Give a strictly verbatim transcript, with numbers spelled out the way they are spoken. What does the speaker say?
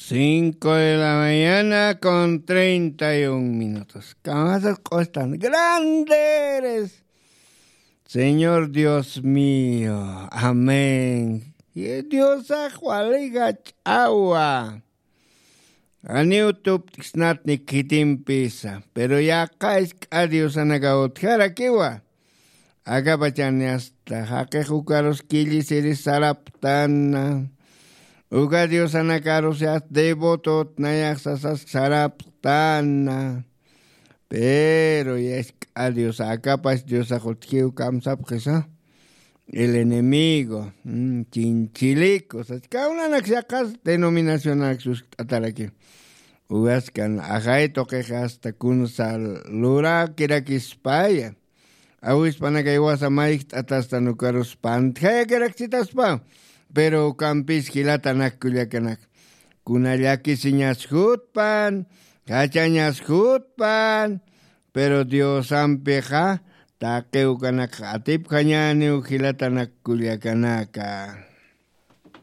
Cinco de la mañana con treinta y un minutos. Kamasas q'ostan. Grande eres, Señor Dios mío. Amén. Y Diosax waliga ch'awa. Aniw tupt'ksnatni khitimpisa, pero yaqha isk'a diosanakaw utjarakiwa. Akapachani asta jaqix ukarus killisiri saraptana. Uka diosanakarus asta devotot nayax sasas saraptana. Pero yask'a diosa, akapash diosax utjiw kamsapxisa. El enemigo, mm, chinchiliku sas kawnanak saqas denominacionanak suskt'ataraki. Ugaskan ajay tuqix asta kunsa lurakirakispaya. Awispanakay wasa mayjt'atastan ukarus pantjayakiraksitaspa. Pero ukampis jilatanak kullakanak, kuna llakisiñas jutpan, jachañas jutpan. Pero diosampixa taqi ukanakxa atipjañäniw jilatanak kullakanaka.